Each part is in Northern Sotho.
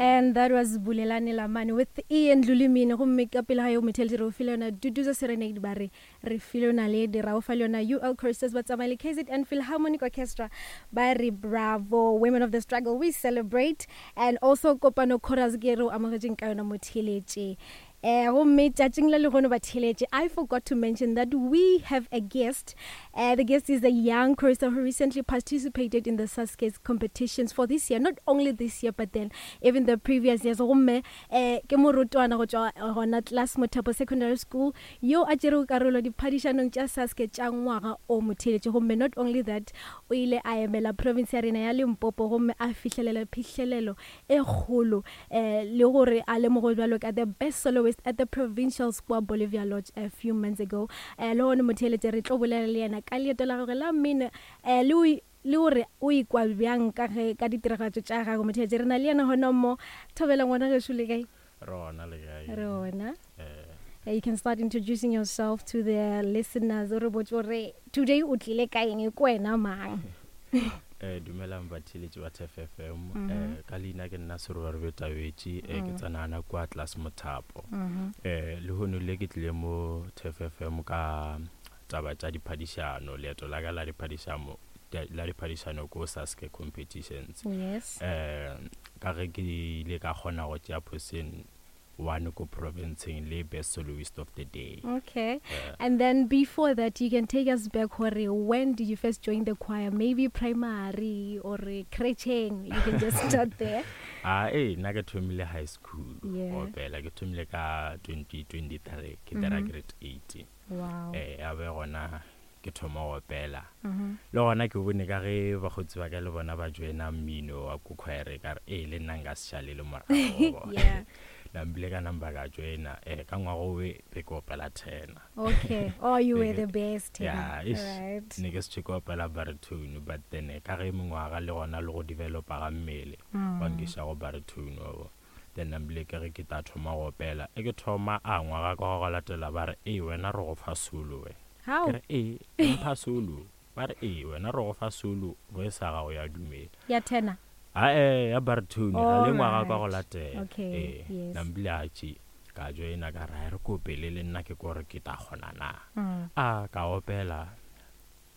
And that was Bulelani Lamane with Ian Lulimini. Gomme ka pele ga yo motheletši re o file yona Duduza Serenade ba re re file yona le dira o fa le yona UL Choristers ba tsamaya le KZN Philharmonic Orchestra ba re bravo women of the struggle we celebrate and also Kopano Chorus ke re o amogetšeng ka yona motheletši. Eh, gomme tšatšing la lehono batheeletše, I forgot to mention that we have a guest. Uh, the guest is a young chorister who recently participated in the SASCES competitions for this year, not only this year, but then even the previous years. Gomme eh, ke morutwana go tšwa gona Class Mothapo Secondary School yo a tšerego karolo diphadišanong tša SASCE tša ngwaga o motheeletše. Gomme not only that, o ile a emela province ya rena ya Limpopo gomme a fihlelela phihlelelo e kgolo eh, le gore a lemogwe bjalo ka the best soloist at the provincial square Bolivia Lodge a few months ago. Eh, le gone motheeletše re tlo bolela le yena ka leeto la gagwe la mmino eh, le le gore o ikwa bjang ka ge ka ditiragatšo tša gagwe. Motheeletše re na le yena gona mo. Thobela ngwana gešo le kae? Re gona le kae? Re gona. Eh. You can start introducing yourself to the listeners. O re botse gore today o tlile ka eng, ke wena mang? Eh, dumelang batheeletši ba Turf FM. Mm -hmm. Eh, ka leina ke nna Serobarube Tabetši, eh, ke mm. tsenana kwa Class Mothapo. Mm -hmm. Eh, lehono le ke tlile mo Turf FM ka taba tša diphadišano, leeto la ka la diphadišano la diphadišano ko Saske competitions. Yes. Eh, ka ge ke ile ka kgona go tšea position one ko provinceng le best soloist of the day. Okay. Yeah. And then before that, you can take us back hore when did you first join the choir? Maybe primary or crècheng. You can just start there. Ah, eh, nna ke thomile high school. Yeah. Opela ke thomile ka 2023 ke dira grade 8. Wow. Eh, ya be gona ke thoma go opela. Le gona ke bone ka ge bakgotsi ba ka le bona ba joina mmino wa ko choir ka re ee le nna nka se šale le morago. Yeah. Nambile ka namba ka joina eh ka ngwaga owe be ke opela tenor. Okay. Oh, you were the best tenor. Yeah, ish. Right. Ne ke se ke opela baritone but then eh, ka ge mengwaga le gona le go developa ga mmele wa nkiša go baritone wa bo. Then nambile ke ge ke tla thoma go opela. E ke thoma a ngwaga ka go latela ba re ee wena re go fa solo wena. How? Ke re ee mpha solo. Ba re ee wena re go fa solo voice ya gago ya dumela. Ya tenor? Ae ya baritone ga le ngwaga ka go latela. Okay. Ee Yes. nambile a tše ka joina ka re a re ko opele le nna ke kore ke tla kgona na. A ka opela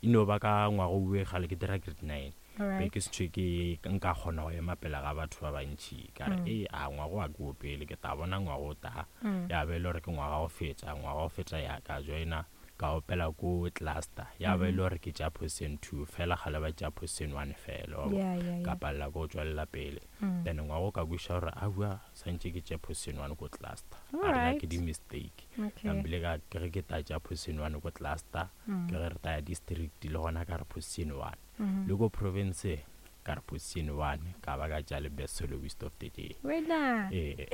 E no ba ka ngwaga owe gale ke dira grade 9. Be ke se thwe ke nka kgona go ema pele ga batho ba bantši. Ka re, ee, a ngwaga wa ke opele, ke tla bona ngwaga o tla. Ya ba e le gore ke ngwaga go feta, ngwaga go feta ya ka joina ka opela ko cluster. Ya ba e le gore ke tšea position 2 fela gale ba tšea position 1 fela, wa bona. Ka palela ke go tšwelela pele. Then ngwaga o ka kwešiša gore aowa swantše ke tšee position 1 ko cluster. A re na ke di-mistake. Okay. Nambile ka ke ge ke tla tšea position 1 ko cluster. Ke ge re tla ya district le gona ka re position 1. Le ko province ka re position 1 ka ba ka tšea le best soloist of the day. Wena. Ee.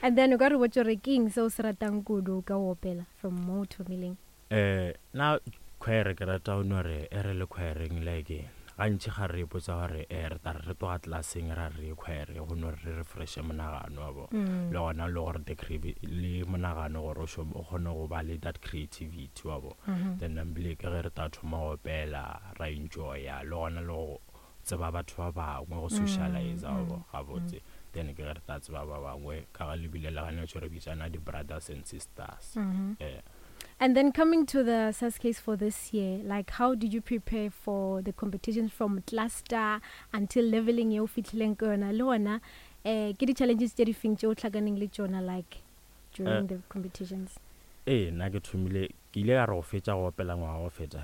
And then o ka re botša gore ke eng se o se ratang kudu ka go opela from mo o thomileng? Eh, na choir ke rata go no re e re le choireng like gantši ga re ipotsa gore eh re tla re re tloga classeng ra re ye choir go no re re refreshe monagano wa bo le gona le gore the le monagano gore o šome o kgone go ba le that creativity wa bo then nambile ke ge re tla thoma go opela ra enjoya le gona le go tseba batho ba bangwe go socialize wa bo gabotse then ke ge re tla tseba ba bangwe ka ga lebile le gane re bitsana di-brothers and sisters eh. And then coming to the SASCES for this year, like how did you prepare for the competitions from cluster until leveling yeo fihlileng ka yona le gona eh ke di-challenges tše di feng tše o hlakaneng le tšona like during the competitions? Ee, nna ke thomile ke ile ka re go fetša go opela ngwaga go feta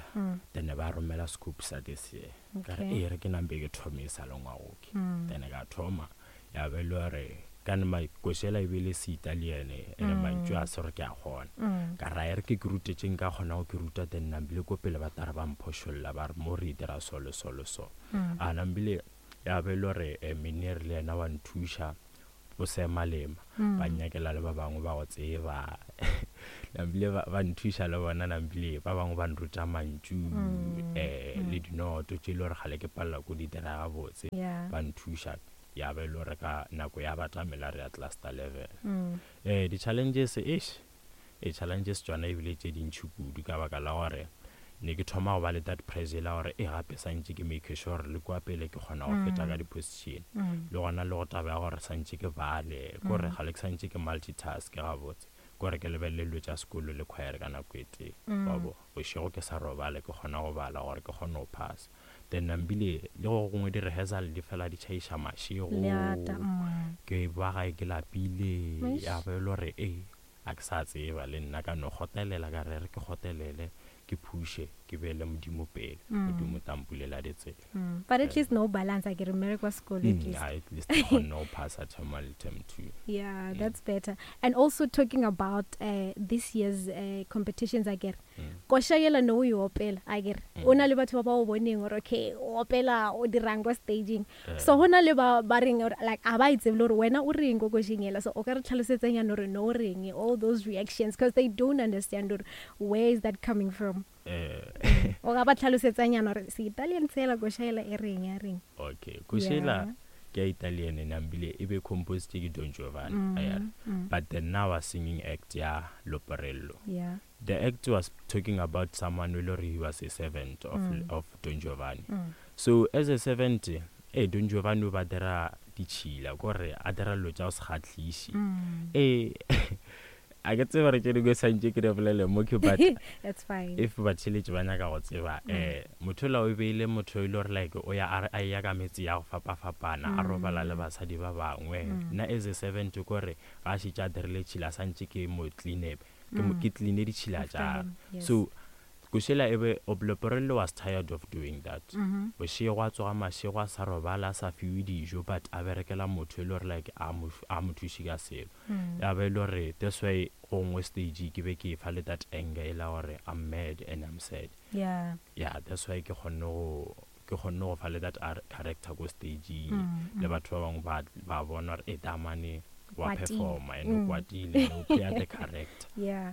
then ba romela scoop sa this year ka re ee re ke nampe ke thome e sa le ngwagoke then ka thoma Ya ba e le gore ka ne makošela e be le Seitaliane ene mantšu a se gore ke a kgona. Ka ra e re ke ke rute tše nka kgonago ke ruta then nambile ko pele ba tla re ba mphošolla ba re mo re e dira so le so le so. A nambile ya ba e le gore Meneer le yena wa nthuša bo Seemalema ba nnyakela le ba bangwe ba go tseba nambile ba nthuša le bona nambile ba bangwe ba nruta mantšu le dinoto tše e le gore kgale ke palela ko di dira gabotse ba nthuša. Ya ba e le gore ka nako ya batamela re ya cluster level. Di-challenges eish, di-challenges tšona e bile tše dintši kudu ka baka la gore Ne ke thoma go ba le that pressure la gore e gape santše ke make sure le kua pele ke kgona go feta ka di-position. Le gona le go taba ya gore santše ke bale, kore ga le ke santše ke multitask gabotse, kore ke lebelele dilo tša sekolo le choir ka nako e tee. Wa bo, bošego ke sa robale ke kgona go bala gore ke kgone go phasa. Then nambile le go gongwe di-rehearsal di fela di tšhaiša mašego, ke ba gae ke lapile, ya ba e le gore e a ke sa tseba le nna ka no kgotelela ka re re ke kgotelele ke phushe ke beele Modimo pele, Modimo tla mpulela ditsela. But at least no balance a ke re mmereko wa sekolo at least. At least ke kgonne go phasa term 1 le term 2. Yeah, that's better. And also talking about this year's competitions a ke re koša yela no o e opela a ke re o na le batho ba ba o boneng gore okay o opela o dirang kwa staging. So go na le ba ba reng gore like a ba e tsebe le gore wena o reng ko košeng yela, so o ka re tlhalosetsanyana gore no o reng, all those reactions, because they don't understand gore where is that coming from. O ka ba tlhalosetsanyana gore se Italian sela koša yela e reng ya reng. Okay, koša yela ke ya Italian nambile e be composed ke Don Giovanni, but then now a singing act ya Loporello. The act was talking about someone who he was a servant of Don Giovanni. So as a servant, Don Giovanni o ba dira ditšhila, kore a dira dilo tša go se kgahliše. A ke tsebe gore tše dingwe santše ke di bolele mo ke, but That's fine. If batheeletši ba nyaka go tseba, motho ola o be e le motho e le gore like o ya a ya ka metse ya go fapafapana, a robala le basadi ba bangwe. Nna as a servant kore ga a šetše a dirile tšhila santše ke mo clean-e, ke clean-e ditšhila tša gagwe. So košela e be Loporello was tired of doing that. Bošego a tsoga mašego a sa robala, a sa fiwe dijo, but a berekela motho e le gore like a mo thuše ka selo. Ya ba e le gore that's why go nngwe stage ke be ke e fa le that anger e la gore I'm mad and I'm sad. Yeah, that's why ke kgonne go ke kgonne go fa le that character ko stageng, le batho ba bangwe ba bona gore e damane wa performa and o kwatile and o playa the character. Yeah.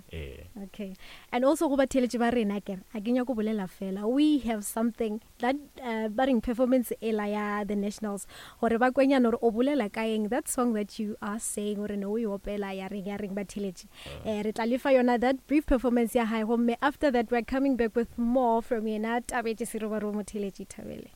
Okay. And also go batheletše ba rena ke a ke nyako bolela fela, we have something that ba reng performance ela ya the nationals gore ba kwenyana gore o bolela ka eng, that song that you are saying gore no o e opela ya reng ya reng batheletše. Re tla lefa yona that brief performance ya hae, gomme after that we're coming back with more from yena Tabetše Serobaroo motheletše Thabele.